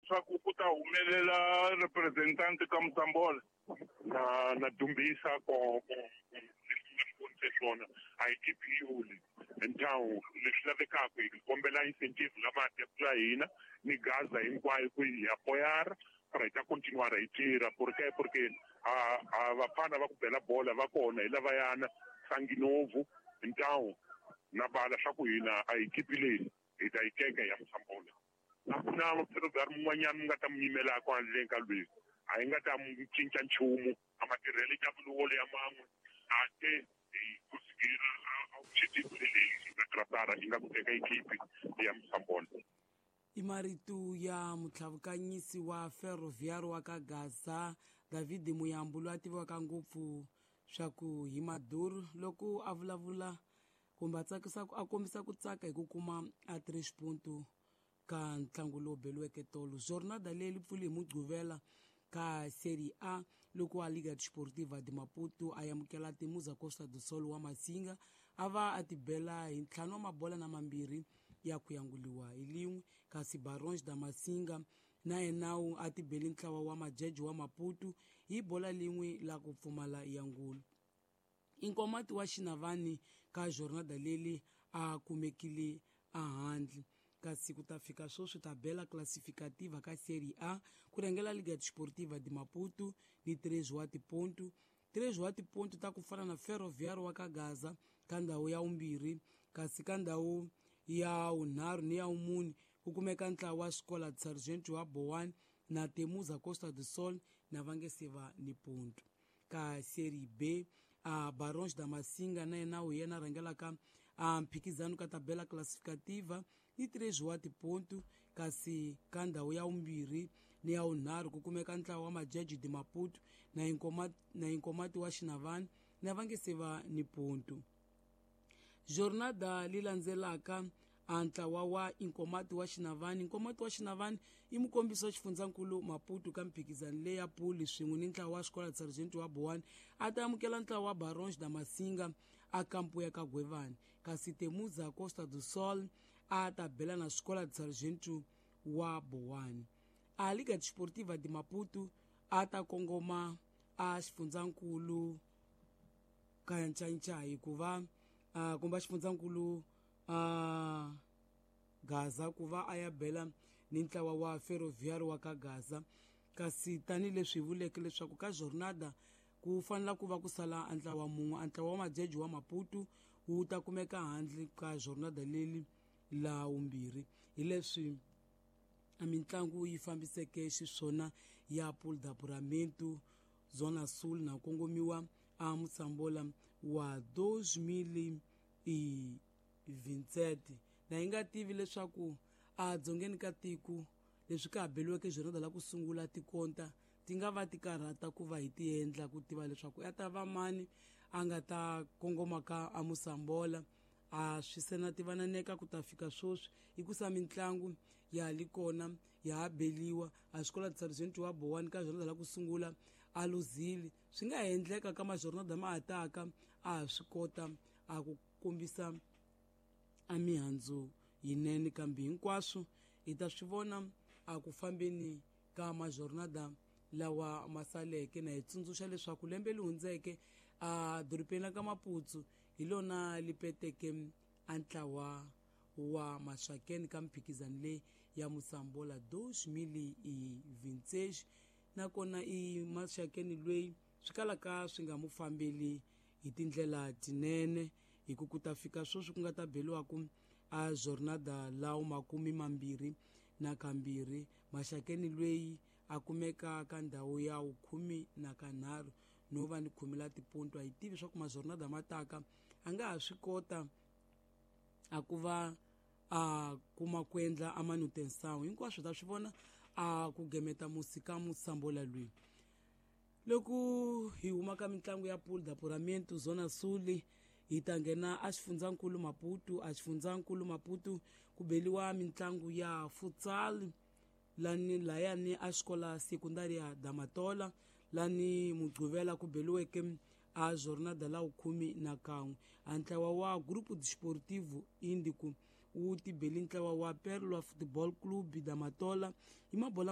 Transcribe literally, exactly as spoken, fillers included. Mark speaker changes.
Speaker 1: Swa ku ku ta humelela representante ka Musambola.
Speaker 2: Na na dumbisa ko ko leswi swona a hi tipiyuli ndhawu leswi lavekaka hi kombela incentive la mati ya hina ni gaza hinkwayo ku hi apoyara para hi ta continuar hi tirha porque porque a a vafana va ku bela bola va kona hi lavayana Sanginovu ndhawu na bala swa ku hina a hi kipileni hi ta yi teka ya Musambola. A ku na mupfherobari mun'wanyana mi nga ta mu yimelaka handleni ka lweyi a yi nga ta mu cinca nchumu a matirhelo ya vuluvolo ya man'we a te hi kusigira a objective leyi nga trasara yi nga ku teka ekipi ya Musambola.
Speaker 3: I marito ya mutlhavukanyisi wa Ferroviário wa ka Gaza David Muyambo loyi a tiviwaka ngopfu swa ku hi Maduro loko a vulavula kumbe a tsakisa a kombisa ku tsaka hi ku kuma a três ponto ka ntlangu lowu beliweke tolo. Jornada leyi pfuli hi Mugqivela ka Série A loko a Liga Desportiva de Maputo a amukela Temuza Costa do Sol wa Masinga a va a tibela hi ntlhanu wa mabola na mambirhi ya ku yanguliwa hi lin'we, kasi Barões da Masinga na yena a tibeli ntlawa wa Majeje wa Maputo hi bola lin'we la ku pfumala yangulo. Inkomati wa Xinavani ka jornada leli a kumekile ahandle, kasi ku ta fika sweswi tabela classificativa ka Série A ku rhangela Liga Desportiva de Maputo ni três wa tiponto três wa tiponto ta ku fana na Ferroviário wa ka Gaza ka ndhawu ya vumbirhi, kasi ka ndhawu ya vunharhu ni ya vumune ku kumeka ntlawa wa Escola de Sargento wa Boane na Temuza Costa do Sol na va nge se va ni ponto. Ka Série B a Barões da Masinga na yena wu yena rhangelaka a mphikizano ka tabela classificativa ni três wa tiponto, kasi ka ndhawu ya vumbirhi ni ya vunharhu ku kumeka ntlawa wa Majeje de Maputo na Inkomati, na Inkomati wa Xinavani na va nge se va ni ponto. Jornada li landzelaka a ntlawa wa Inkomati wa Xinavani. Inkomati wa Xinavani i mukombisi wa xifundzankulu Maputo ka mphikizano leyi ya puli swin'we ni ntlawa wa Escola de Sargento wa Boane a ta amukela ntlawa wa Barões da Masinga a kampo ya ka Gwevani, kasi Temuza Costa do Sol a ta bela na Escola de Sargento wa Boane. A Liga Desportiva de Maputo a ta kongoma a xifundzankulu ka Ncancai hikuva uh, kumbe xifundzankulu uh, Gaza ku va a ya bela ni ntlawa wa Ferroviário wa ka Gaza, kasi tanihileswi hi vuleke leswaku ka jornada ku fanela ku va ku sala ntlawa mun'we, a ntlawa wa Majeje wa Maputo wu ta kumeka handle ka jornada leli la vumbirhi. Hi leswi a mitlangu yi fambiseke xiswona ya Pool d'Apuramento Zona Sul na kongomiwa a Musambola wa dois mil e vinte e sete. Na hi nga tivi leswaku a dzongeni ka tiko leswi ka ha beliweke jornada la ku sungula tikonta ti nga va ti karhata ku va hi ti endla ku tiva leswaku ya ta va mani a nga ta kongoma ka a Musambola. A swi se na tivananeka ku ta fika sweswi hikusa mitlangu ya li kona ya ha beliwa a Escola de Sargento wa Boane ka jornada la ku sungula a luzile. Swi nga endleka ka majornada ma ataka a ha swi kota a ku kombisa a mihandzu yinene, kambe hinkwaswo hi ta swi vona a ku fambeni ka majornada lawa ma saleke. Na hi tsundzuxa leswaku lembe leri hundzeke a dorobeni la ka Maputo hi lona li peteke a ntlawa wa Maxakeni ka mphikizano leyi ya Musambola dois mil e vinte e seis, nakona i Maxakeni loyi swi kalaka swi nga mu fambeli hi tindlela tinene hi ku ku ta fika sweswi ku nga ta beliwaku a jornada lawo makumi mambirhi na kambirhi. Maxakeni loyi a kumeka ka ndhawu ya vukhume na kanharhu no va ni khume la tiponto. A hi tivi swa ku majornada ma taka a nga ha swi kota a ku va a kuma ku endla a manutenção hinkwaswo ta swi vona a ku gemeta musi ka Musambola loyi. Loko hi huma ka mitlangu ya Pool d'Apuramento Zona Sul hi ta nghena a xifundzankulu Maputo. A xifundzankulu Maputo ku beliwa mitlangu ya futsal lani layani a xikola secundária da Matola lani Mugqivela ku beliweke a jornada la vukhume na kan'we. A ntlawa wa Grupo Desportivo Índico wu tibeli ntlawa wa Perla Futebol Clube da Matola hi mabola